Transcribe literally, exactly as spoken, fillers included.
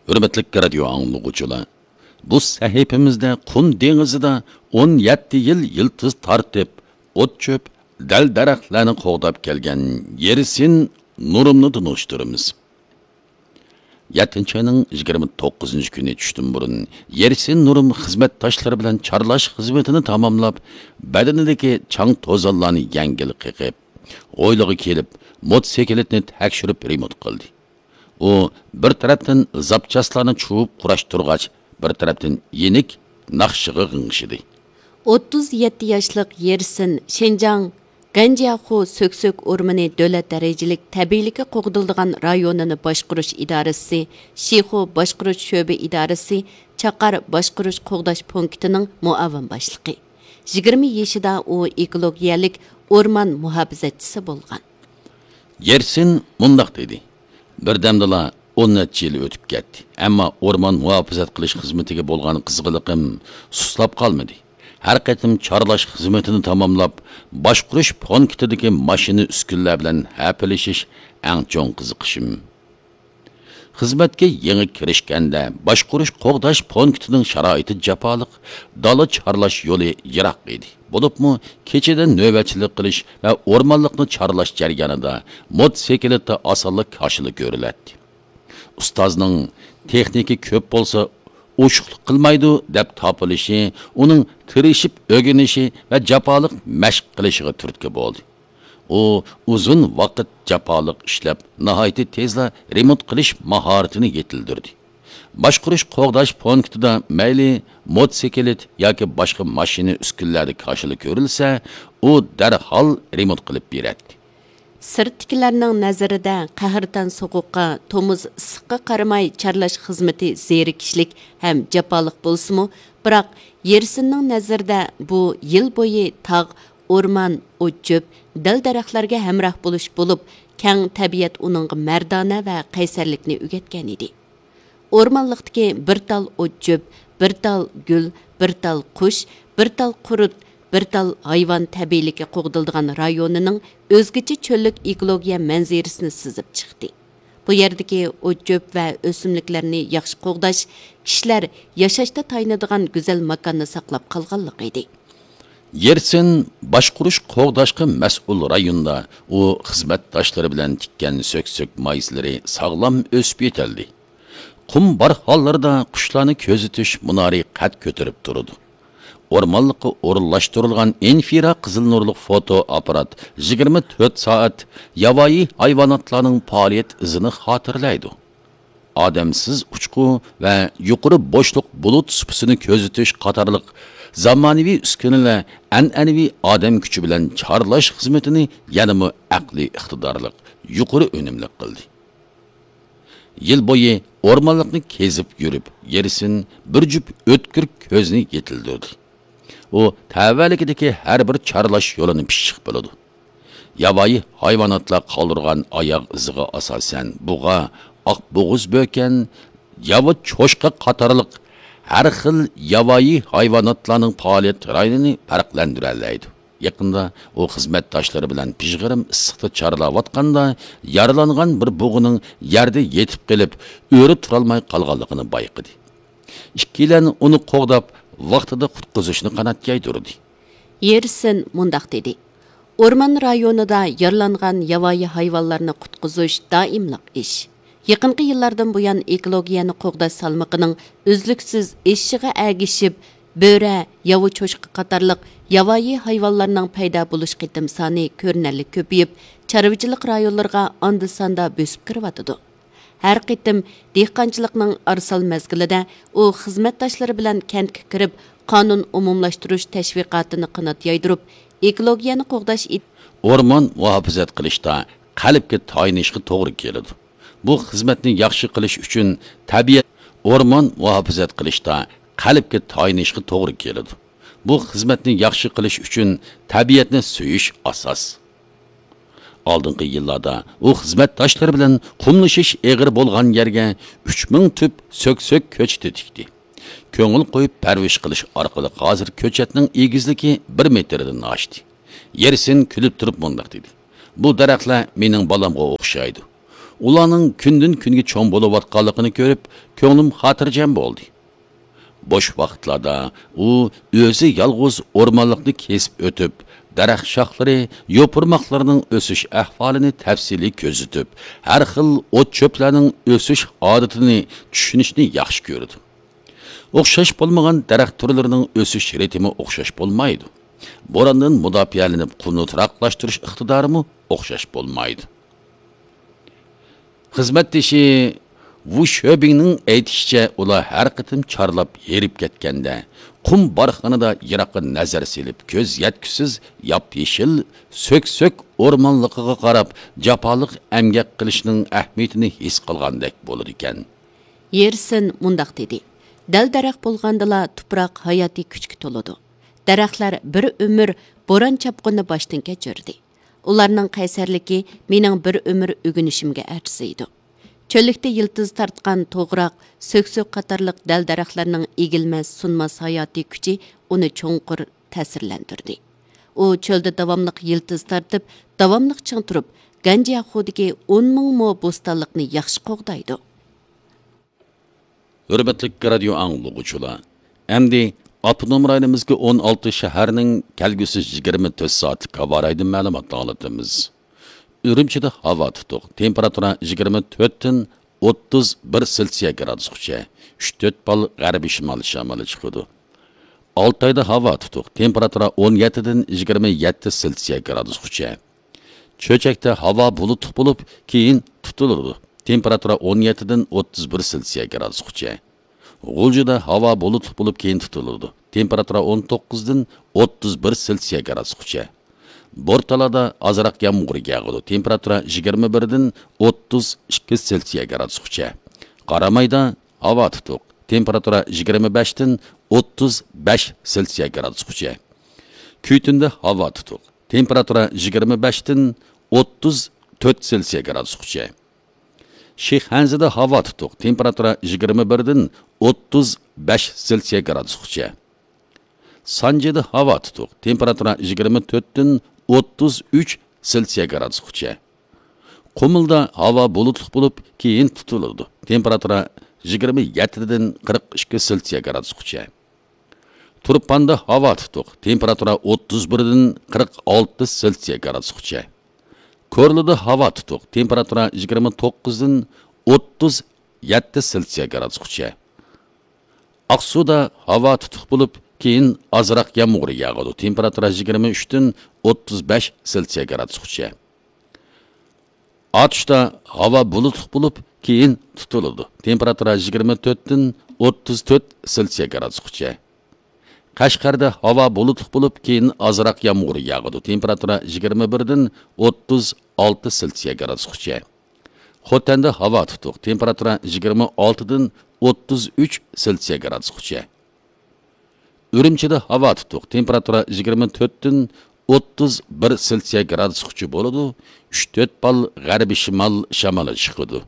ھۆرمەتلىك رادىيو ئاڭلىغۇچىلار، بۇ سەھىپىمىزدە قۇم دېڭىزىدا ئون يەتتە يىل يىلتىز تارتىپ، ئوت-چۆپ، دەل-دەرەخلەرنى قوغداپ كەلگەن يېرسىن نۇرۇمنى تونۇشتۇرىمىز. يەتتىنچى ئاينىڭ يىگىرمە توققۇزىنچى كۈنى چۈشتىن بۇرۇن يېرسىن نۇرۇم خىزمەتداشلىرى بىلەن چارلاش خىزمىتىنى تاماملاپ، بەدىنىدىكى چاڭ-توزانلارنى يەڭگىل قېقىپ، ھويلىغا كېلىپ، موتوسىكلىتنى تەكشۈرۈپ رېمونت قىلدى. ئۇ بىر تەرەپتىن زاپچاسلارنى چۇۋۇپ قۇراشتۇرغاچ، بىر تەرەپتىن يېنىك ناخشىغا غىڭشىدى. ئوتتۇز يەتتە ياشلىق يېرسىن شىنجاڭ گەنجياخۇ سۆكسۆك ئورمىنى دۆلەت دەرىجىلىك تەبىئىيلىكى قوغدىلىدىغان رايونىنى باشقۇرۇش ئىدارىسى، شىخۇ باشقۇرۇش شۆبە ئىدارىسى، چاقار باشقۇرۇش قوغداش پونكىتىنىڭ مۇئاۋىن باشلىقى. يىگىرمە يېشىدا ئۇ ئېكولوگىيەلىك ئورمان مۇھاپىزەتچىسى بولغان. يېرسىن مۇنداق دېدى: بىردەمدىلا ئون نەچچە يىل ئۆتۈپ كەتتى، ئەمما ئورمان مۇھاپىزەت قىلىش خىزمىتىگە بولغان قىزغىنلىقىم سۇسلاپ قالمىدى. ھەر قېتىم چارلاش خىزمىتىنى تاماملاپ، باشقۇرۇش پونكىتىدىكى ماشىنا ئۈسكۈنىلەر بىلەن ھەپىلىشىش ئەڭ چوڭ قىزىقىشىم. خىزمەتكە يېڭى كىرىشكەندە، باشقۇرۇش قوغداش پونكىتىنىڭ شارائىتى جاپالىق، دالا چارلاش يولى يىراق ئىدى. بولۇپمۇ كېچىدە نۆۋەتچىلىك قىلىش ۋە ئورمانلىقنى چارلاش جەريانىدا موتوسىكلىتتا ئاسانلا كاشىلا كۆرۈلەتتى. ئۇستازنىڭ تېخنىكا كۆپ بولسا ئوشۇقلۇق قىلمايدۇ دەپ تاپىلىشى ئۇنىڭ تىرىشىپ ئۆگىنىشى ۋە جاپالىق مەشىق قىلىشىغا تۈرتكە بولدى. ئۇ ئۇزۇن ۋاقىت جاپالىق ئىشلەپ، ناھايىتى تېزلا رېمونت قىلىش ماھارىتىنى يېتىلدۈردى. باشقۇرۇش قوغداش پونكىتىدا مەيلى موتوسىكلىت ياكى باشقا ماشىنا ئۈسكۈنىلەردە كاشىلا كۆرۈلسە، ئۇ دەرھال رېمونت قىلىپ بېرەتتى. سىرتتىكىلەرنىڭ نەزىرىدە قەھرىتان سوغۇققا، تومۇز ئىسسىققا قارىماي چارلاش خىزمىتى زېرىكىشلىك ھەم جاپالىق بولسىمۇ، بىراق يېرسىننىڭ نەزىرىدە بۇ يىل بويى تاغ، ئورمان، ئوت-چۆپ، دەل-دەرەخلەرگە ھەمراھ بولۇش بولۇپ، كەڭ تەبىئەت ئۇنىڭغا مەردانە ۋە قەيسەرلىكنى ئۆگەتكەن ئىدى. ئورمانلىقتىكى بىر تال ئوت-چۆپ، بىر تال گۈل، بىر تال قۇش، بىر تال قۇرت، بىر تال ھايۋان تەبىئىيلىكى قوغدىلىدىغان رايونىنىڭ ئۆزگىچە چۆللۈك ئېكولوگىيە مەنزىرىسىنى سىزىپ چىقتى. بۇ يەردىكى ئوت-چۆپ ۋە ئۆسۈملۈكلەرنى ياخشى قوغداش كىشىلەر ياشاشتا تايىنىدىغان گۈزەل ماكاننى ساقلاپ قالغانلىقى ئىدى. يېرسىن باشقۇرۇش قوغداشقا مەسئۇل رايوندا ئۇ خىزمەتداشلىرى بىلەن تىككەن سۆكسۆك مايسىلىرى ساغلام ئۆسۈپ يېتىلدى. قۇم بارخانلىرىدا قۇشلارنى كۆزىتىش مۇنارى قەد كۆتۈرۈپ تۇرىدۇ. ئورمانلىققا ئورۇنلاشتۇرۇلغان ئىنفرا قىزىل نۇرلۇق فوتو ئاپپارات يىگىرمە تۆت سائەت ياۋايى ھايۋاناتلارنىڭ پائالىيەت ئىزىنى خاتىرىلەيدۇ. ئادەمسىز ئۇچقۇ ۋە يۇقىرى بوشلۇق بۇلۇت سۇپىسىنى كۆزىتىش قاتارلىق زامانىۋى ئۈسكۈنىلەر ئەنئەنىۋى ئادەم كۈچى بىلەن چارلاش خىزمىتىنى يەنىمۇ ئەقلىي ئىقتىدارلىق، يۇقىرى ئۈنۈملۈك قىلدى. يىل بويى ئورمانلىقنى كېزىپ يۈرۈپ، يېرسىن بىر جۈپ ئۆتكۈر كۆزنى يېتىلدۈردى. ئۇ تەۋەلىكىدىكى ھەر بىر چارلاش يولىنى پىششىق بىلىدۇ. ياۋايى ھايۋاناتلار قالدۇرغان ئاياغ ئىزىغا ئاساسەن، بۇغا، ئاق بوغۇز بۆكەن، ياۋا چوشقا قاتارلىق ھەر خىل ياۋايى ھايۋاناتلارنىڭ پائالىيەت رايونىنى پەرقلەندۈرەلەيدۇ. يېقىندا ئۇ خىزمەتداشلىرى بىلەن پىژغىرىم ئىسسىقتا چارلاۋاتقاندا، يارىلانغان بىر بۇغىنىڭ يەردە يېتىپ قېلىپ، ئۆرە تۇرالماي قالغانلىقىنى بايقىدى. ئىككىيلەن ئۇنى قوغداپ، ۋاقتىدا قۇتقۇزۇشنى قانات يايدۇردى. يېرسىن مۇنداق دېدى: ئورمان رايونىدا يارىلانغان ياۋايى ھايۋانلارنى قۇتقۇزۇش دائىملىق ئىش. يېقىنقى يىللاردىن بۇيان، ئېكولوگىيەنى قوغداش سالمىقىنىڭ ئۈزلۈكسىز ئېشىشىغا ئەگىشىپ، بۆرە، ياۋا چوشقا قاتارلىق ياۋايى ھايۋانلارنىڭ پەيدا بولۇش قېتىم سانى كۆرۈنەرلىك كۆپىيىپ، چارۋىچىلىق رايونلىرىغا ئاندا-ساندا بۆسۈپ كىرىۋاتىدۇ. ھەر قېتىم دېھقانچىلىقنىڭ ئارىسال مەزگىلىدە ئۇ خىزمەتداشلىرى بىلەن كەنتكە كىرىپ، قانۇن ئومۇملاشتۇرۇش تەشۋىقاتىنى قانات يايدۇرۇپ، ئېكولوگىيەنى قوغداش ئىد- ئورمان مۇھاپىزەت قىلىشتا قەلبكە تايىنىشقا توغرا كېلىدۇ. بۇ خىزمەتنى ياخشى قىلىش ئۈچۈن تەبىئەت، ئورمان مۇھاپىزەت قىلىشتا قەلبكە تايىنىشقا توغرا كېلىدۇ. بۇ خىزمەتنى ياخشى قىلىش ئۈچۈن تەبىئەتنى سۆيۈش ئاساس. ئالدىنقى يىللاردا ئۇ خىزمەتداشلىرى بىلەن قۇملىشىش ئېغىر بولغان يەرگە ئۈچ مىڭ تۈپ سۆكسۆك كۆچىتى تىكتى. كۆڭۈل قويۇپ پەرۋىش قىلىش ئارقىلىق ھازىر كۆچەتنىڭ ئېگىزلىكى بىر مېتىردىن ئاشتى. يېرسىن كۈلۈپ تۇرۇپ مۇنداق دېدى: بۇ دەرەخلەر مېنىڭ بالامغا ئوخشايدۇ. ئۇلارنىڭ كۈندىن-كۈنگە چوڭ بولۇۋاتقانلىقىنى كۆرۈپ، كۆڭلۈم خاتىرجەم بولدى. بوش ۋاقىتلاردا ئۇ ئۆزى يالغۇز ئورمانلىقنى كېسىپ ئۆتۈپ، دەرەخ شاخلىرى، يوپۇرماقلىرىنىڭ ئۆسۈش ئەھۋالىنى تەپسىلىي كۆزىتىپ، ھەر خىل ئوت-چۆپلەرنىڭ ئۆسۈش ئادىتىنى چۈشىنىشنى ياخشى كۆرىدۇ. ئوخشاش بولمىغان دەرەخ تۈرلىرىنىڭ ئۆسۈش رىتىمى ئوخشاش بولمايدۇ. بوراندىن مۇداپىئەلىنىپ، قۇمنى تۇراقلاشتۇرۇش ئىقتىدارىمۇ ئوخشاش بولمايدۇ. خىزمەتدىشى ۋۇ شۆبىڭنىڭ ئېيتىشىچە، ئۇلار ھەر قېتىم چارلاپ ھېرىپ كەتكەندە، قۇم بارخانىدا يىراققا نەزەر سېلىپ، كۆز يەتكۈسىز ياپيېشىل سۆكسۆك ئورمانلىقىغا قاراپ، جاپالىق ئەمگەك قىلىشنىڭ ئەھمىيىتىنى ھېس قىلغاندەك بولىدىكەن. يېرسن مۇنداق دېدى: دەل-دەرەخ بولغاندىلا، تۇپراق ھاياتىي كۈچكە تولىدۇ. دەرەخلەر بىر ئۆمۈر بوران-چاپقۇننى باشتىن كەچۈردى. ئۇلارنىڭ قەيسەرلىكى مېنىڭ بىر ئۆمۈر ئۆگىنىشىمگە ئەرزىيدۇ. چۆللۈكتە يىلتىز تارتقان توغراق، سۆكسۆك قاتارلىق دەل-دەرەخلەرنىڭ ئېگىلمەس-سۇنماس ھاياتىي كۈچى ئۇنى چوڭقۇر تەسىرلەندۈردى. ئۇ چۆلدە داۋاملىق يىلتىز تارتىپ، داۋاملىق چىڭ تۇرۇپ، گەنجياخۇدىكى ئون مىڭ مو بوستانلىقنى ياخشى قوغدايدۇ. ھۆرمەتلىك رادىيو ئاڭلىغۇچىلار، ئەمدى ئاپتونوم رايونىمىزدىكى ئون ئالتە شەھەرنىڭ كەلگۈسى يىگىرمە تۆت سائەتلىك ھاۋا رايىدىن مەلۇماتنى ئاڭلىتىمىز. ئۈرۈمچىدە ھاۋا تۇتۇق، تېمپېراتۇرا يىگىرمە تۆتتىن ئوتتۇز بىر سېلسىيە گرادۇسقىچە، ئۈچ تۆت بال غەربىي شىمال شامىلى چىقىدۇ. ئالتايدا ھاۋا تۇتۇق، تېمپېراتۇرا ئون يەتتىدىن يىگىرمە يەتتە سېلسىيە گرادۇسقىچە. چۆچەكتە ھاۋا بۇلۇتلۇق بولۇپ، كېيىن تۇتۇلىدۇ. تېمپېراتۇرا ئون يەتتىدىن ئوتتۇز بىر سېلسىيە گرادۇسقىچە. غۇلجىدا ھاۋا بۇلۇتلۇق بولۇپ، كېيىن تۇتۇلىدۇ. تېمپېراتۇرا ئون توققۇزدىن ئوتتۇز بىر سېلسىيە گرادۇسقىچە. بورتالادا ئازراق يامغۇر ياغىدۇ. تېمپېراتۇرا يىگىرمە بىردىن ئوتتۇز ئىككى سېلسىيە گرادۇسقىچە. قارامايدا ھاۋا تۇتۇق. تېمپېراتۇرا يىگىرمە بەشتىن ئوتتۇز بەش سېلسىيە گرادۇسقىچە. كۈيتۈندە ھاۋا تۇتۇق. تېمپېراتۇرا يىگىرمە بەشتىن ئوتتۇز تۆت سېلسىيە گرادۇسقىچە. شىخەنزىدە ھاۋا تۇتۇق. تېمپېراتۇرا يىگىرمە بىردىن ئوتتۇز بەش سېلسىيە گرادۇسقىچە. سانجىدا ھاۋا تۇتۇق. تېمپېراتۇرا يىگىرمە تۆتتىن ئوتتۇز ئۈچ سېلسىيە گرادۇسقىچە. قۇمۇلدا ھاۋا بۇلۇتلۇق بولۇپ، كېيىن تۇتۇلىدۇ. تېمپېراتۇرا يىگىرمە يەتتىدىن قىرىق ئىككى سېلسىيە گرادۇسقىچە. تۇرپاندا ھاۋا تۇتۇق. تېمپېراتۇرا ئوتتۇز بىردىن قىرىق ئالتە سېلسىيە گرادۇسقىچە. كورلىدا ھاۋا تۇتۇق. تېمپېراتۇرا يىگىرمە توققۇزدىن ئوتتۇز يەتتە سېلسىيە گرادۇسقىچە. ئاقسۇدا ھاۋا تۇتۇق بولۇپ، كېيىن ئازراق يامغۇر ياغىدۇ. تېمپېراتۇرا يىگىرمە ئۈچتىن ئوتتۇز بەش سېلسىيە گرادۇسقىچە. ئاتۇشتا ھاۋا بۇلۇتلۇق بولۇپ، كېيىن تۇتۇلىدۇ. تېمپېراتۇرا يىگىرمە تۆتتىن ئوتتۇز تۆت سېلسىيە گرادۇسقىچە. قەشقەردە ھاۋا بۇلۇتلۇق بولۇپ، كېيىن ئازراق يامغۇر ياغىدۇ. تېمپېراتۇرا يىگىرمە بىردىن ئوتتۇز ئالتە سېلسىيە گرادۇسقىچە. خوتەندە ھاۋا تۇتۇق. تېمپېراتۇرا يىگىرمە ئالتىدىن ئوتتۇز ئۈچ سېلسىيە گرادۇسقىچە. ئۈرۈمچىدە ھاۋا تۇتۇق. تېمپېراتۇرا يىگىرمە تۆتتىن ئوتتۇز بىر سېلسىيە گرادۇسقىچە بولىدۇ. ئۈچ تۆت بال غەربىي شىمال شامىلى چىقىدۇ.